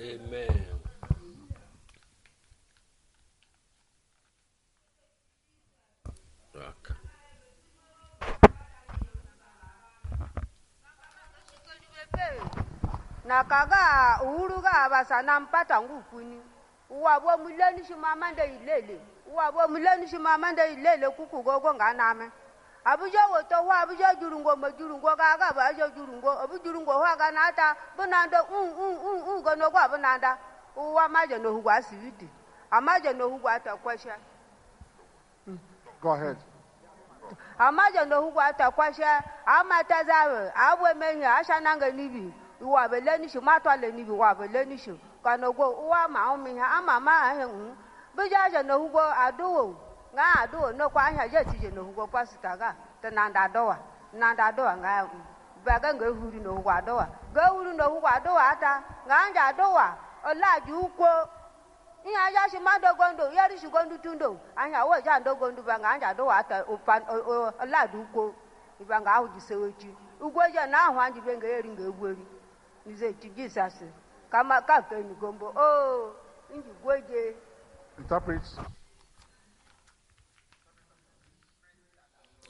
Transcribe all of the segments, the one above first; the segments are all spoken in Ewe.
Amen. Okay. Na kaga uhuru ga basa na mpata ngukuni uwabo muleni shimamande ilele uwabo muleni shimamande ilele kuku gogo nganame abuja woto wa abuja jurungo ma jurungo ga ga ba ajo jurungo abu jurungo wa ga nata bunando un un un un gono gwa bunanda uwa maje no hugwa siwiti amaje no hugwa ta kwasha. Go ahead. Amaje no hugwa ta kwasha amata zawe abwe menya asha nanga nibi uwa bele ni shi matwa le nibi uwa bele ni shi kanogo uwa ma umi ha ama ma ahe hu bija je no hugo aduwo nga aduwo no kwa anya je ti je no hugo pasita ga te nanda dowa nanda dowa nga ba ga nga huri no hugo adowa ga huri no hugo adowa ata nga anja adowa olaju ukwo ihe aja shi ma dogondo yeri shi gondu tundo anya wo ja ndogondu ba nga anja dowa ata opa olaju ukwo iba nga ahu jisewechi ugwo je na ahụ anji be nga eri nga egweri nize ti Jesus kama ka ke ni gombo o nji gweje. Interpret.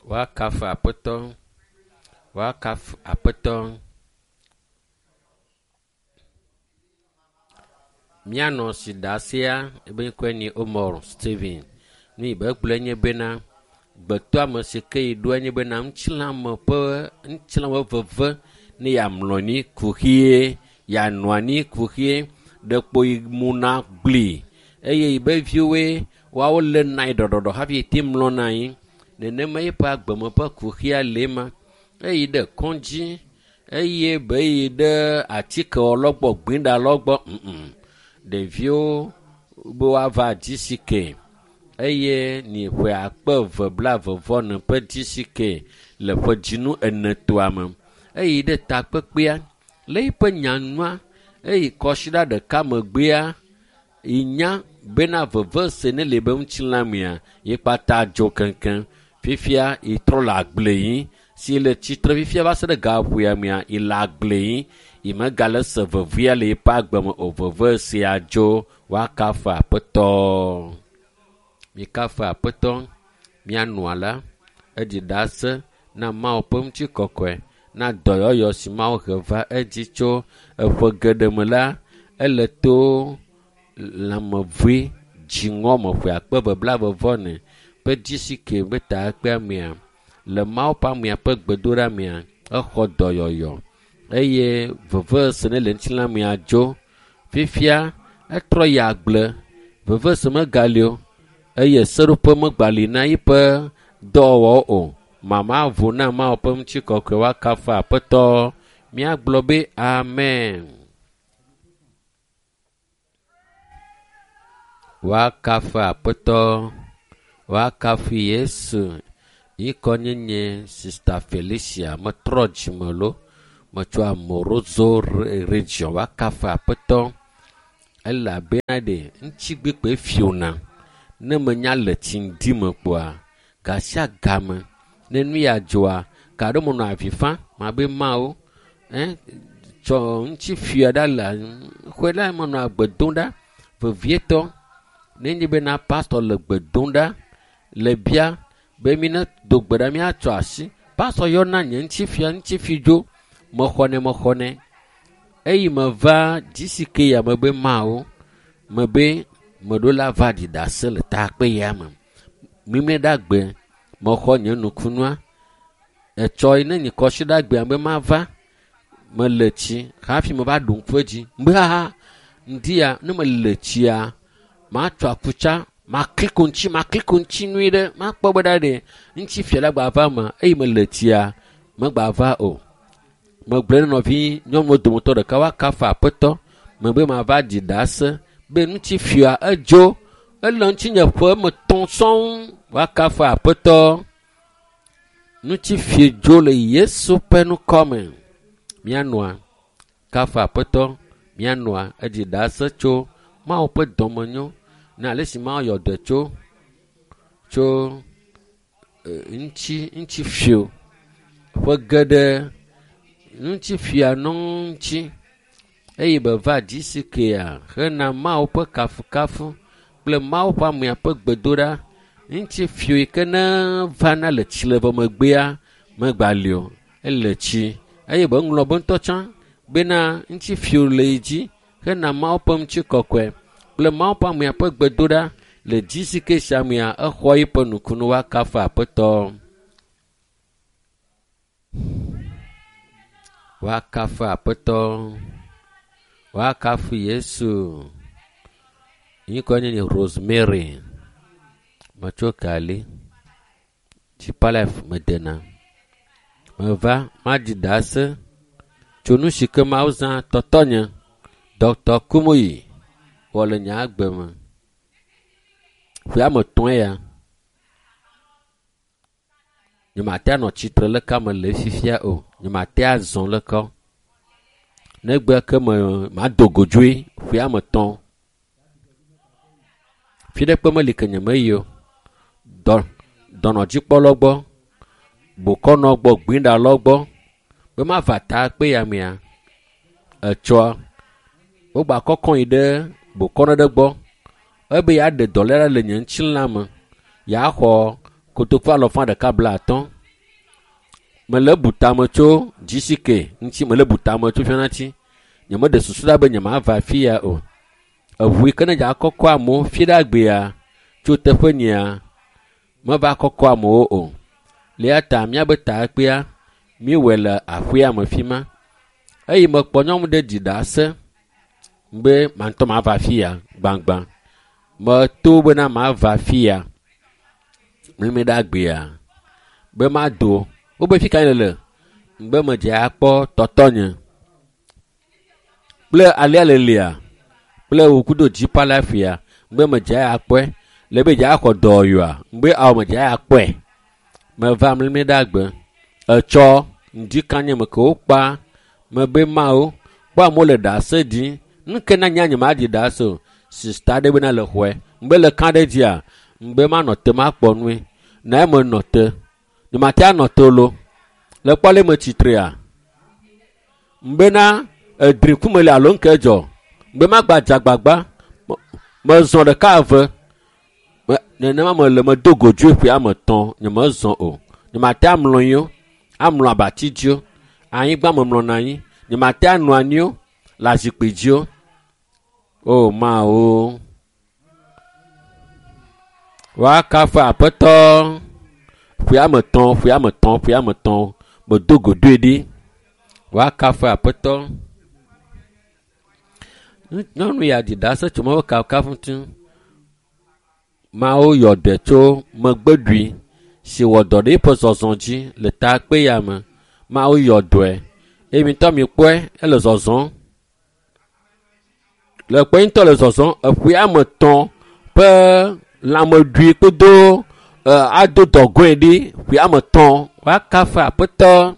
Woakafu Aƒetɔ. Woakafu Aƒetɔ. Míanɔ si ɖasia ebe ŋkɔe nye Omar Steven. Nu yi be gblɔe nye bena gbetɔame si ke yi ɖoe nye bena ŋutilãme ƒe ŋutilãme veve ne yeamlɔ anyi kuxie, yeanɔ anyi kuxie, ɖekpo yi muna gblii eye yi be viwoe woawo léna yi ɖɔɖɔɖɔ hafi yi te mlɔna anyi. Nenema eƒe agbeme ƒe kuxia le ema. Eyi ɖe kɔdzi eye be yi ɖe atikewɔlawo gbɔ, gbeɖalawo gbɔ ŋŋ. Ɖeviwo be woava GCK eye ni ƒe akpe eve blaeve vɔ ene ƒe GCK le ƒe dzinu enetoa me. Eyi ɖe takpekpea le eƒe nyanua eyi kɔsiɖa ɖeka megbea yi nya bena veve se ne le be ŋutilã mea ye kpata dzo keŋkeŋ. Fifia yi trɔ le agble yim si le tsitre fifia va se ɖe gaƒoea mea yi le agble yim yi megale se vevea le eƒe agbe me o veve sia dzo woakafu Aƒetɔ. Mikafu Aƒetɔ mianɔa la eɖi ɖase na Mawu ƒe ŋutikɔkɔe na dɔyɔyɔ si Mawu he va edzi tso eƒe geɖe me la ele to lãmevɔe dziŋɔ me ƒe akpe eve blaeve vɔ ene ƒe GCK be takpea mea le Mawu ƒe amea ƒe gbedoɖa mea exɔ dɔyɔyɔ eye veve se ne le ŋutilã mea dzo. Fifia etrɔ yi agble veve se megali o eye seɖoƒe megbali na eƒe dɔwɔwɔwo o. Mama vo na Mawu ƒe ŋutikɔkɔe woakafu Aƒetɔ. Míagblɔ be amen. Woakafu Aƒetɔ. Woakafu Yesu. Yi kɔ nye Sister Felicia. Metrɔ dzime lo. Metso Amoroso region. Woakafu Aƒetɔ. Elabena ɖe ŋutigbekpe fiona. Ne menya le tsi ŋdi me kpoa, gasia game ne nu ya dzɔa, ka ɖe menɔ avi fam mabe Mawu, tsɔ ŋuti fia ɖa le xɔe ɖa menɔ agbe dom ɖa vevietɔ. Nenye bena pastor le gbe dom ɖa le bia be mi ne do gbe ɖa míatsɔ asi. Pastor yɔna nye ŋuti fia ŋuti fi dzo mexɔnɛ mexɔnɛ. Eyi meva GCK ya me be Mawu me be meɖo la va ɖi ɖase le takpe ya me. Mimle ɖa gbe mexɔ nye nukunua. Etsɔ yi ne nye kɔsi ɖa gbea be mava mele tsi hafi meva ɖu ŋku edzi. Be haha ŋdi ya ne mele tsia matsɔ akutsa makli ko ŋuti makli ko ŋuti nyuie ɖe makpɔ be ɖa ɖe ŋuti fia la gba va me eye mele tsia megba va o. Megblɔ ne nɔvi nyɔnuwo dometɔ ɖeka woakafu Aƒetɔ mebe mava ɖi ɖase be ŋuti fia edzo ele ŋutinye ƒe eme tɔ̃ sɔŋ woakafu Aƒetɔ. Ŋuti fie dzo le Yesu ƒe ŋkɔme. Míanɔa kafu Aƒetɔ míanɔa eɖi ɖase tso Mawu ƒe dɔmenyo na ale si Mawu yɔ dɔe tso tso ŋuti ŋuti fio ƒe geɖe ŋuti fia nɔ ŋuti Eye beva GCK-a hena Mawu ƒe kafukafu kple Mawu ƒe amea ƒe gbedoɖa ŋuti fio yi ke ne vana le tsi le vɔ megbea megbali o. Ele tsi eye be ŋlɔ be ŋutɔ tsã bena ŋuti fio le yi dzi hena Mawu ƒe ŋutikɔkɔe kple Mawu ƒe amea ƒe gbedoɖa le GCK sia mea exɔ yiƒe nukunu woakafu Aƒetɔ. Woakafu Aƒetɔ. Woakafu Yesu. Ŋkɔe nye Rosemary. Metso Kali. Deeper Life medena. Meva maɖi ɖase tso nu si ke Mawu zã tɔtɔnye Dr. Kumuyi wɔ le nye agbe me. Ƒe ame etɔ̃e ya. Nyemate anɔ tsitre leke ame le fifia o. Nyemate azɔ leke o. Negbe ke me mado godzoe ƒe ame etɔ̃. Fi ɖe kpe meli ke nyemeyi o. Dɔ dɔnɔdzikpɔlawo gbɔ, bokɔnɔ gbɔ, gbinɖalawo gbɔ be mava ta kpe ya mea etsɔa wogba kɔkɔ yi ɖe bokɔnɔ ɖe gbɔ ebe yeaɖe dɔléle le nye ŋutilã me yeaxɔ kotoku alɔfa ɖeka bla atɔ̃. Mele bu tame tso GCK ŋuti mele bu tame tso fiana ŋuti. Nyemeɖe susu ɖa be nyemava afi ya o. Eʋu yi ke ne dza kɔkɔ amewo fi ɖe agbea tso teƒe nyea meva kɔkɔ amewo o. Le eya ta míabe takpea míewɔe le aƒea me fi ma. Eye mekpɔ nyɔnu ɖe ɖi ɖase be ma ŋutɔ mava afi ya gbãgbã. Meto bena mava afi ya mlimi ɖe agbea be mado. Wobe fi ka nele? Be medze akpɔ tɔtɔnye kple alea lelia kple wò kudo Deeper Life ya be medze akpɔe le be dze axɔ dɔyɔa be awo medze akpɔe. Meva mlimi ɖe agbe. Etsɔ ŋdi kanye me ke wokpa mebe mawo kpɔ amewo le ɖase ɖim. Nu ke na nye nyemaɖi ɖase o. Sista ɖe bena le xɔe. Ŋgbe le kã ɖe dzia ŋgbe manɔ te makpɔ nue. Na eme nɔ te. Nyemate anɔ te o lo. Le kpɔ ale me tsitrea. Ŋgbena edri kume le alo ŋke dzɔ. Ŋgbe magba dze agbagba. Mezɔ ɖeka eve. Nenema mele medo godzoe ƒe ame etɔ̃ nyemezɔ o. Nyemate amlɔ anyi o. Amlɔ abati dzi o. Anyigba memlɔna anyi. Nyemate anɔ anyi o le azikpui dzi o. O Mawu. Woakafu Aƒetɔ. Ƒe ame etɔ̃, ƒe ame etɔ̃, ƒe ame etɔ̃. Medo godoe ɖi. Woakafu Aƒetɔ. Nyɔnu ya ɖi ɖase tso Mawu kafukafu ŋuti. Mawu yɔ dɔe tso megbeɖui si wɔ dɔ ɖe eƒe zɔzɔ dzi le takpe ya me. Mawu yɔ dɔe eye mi ŋutɔ mikpɔe ele zɔzɔm. Le kpɔe ŋutɔ le zɔzɔm eƒe ame etɔ̃ ƒe lãmeɖui kpodo ado dɔgɔe ɖi ƒe ame etɔ̃ woakafu Aƒetɔ.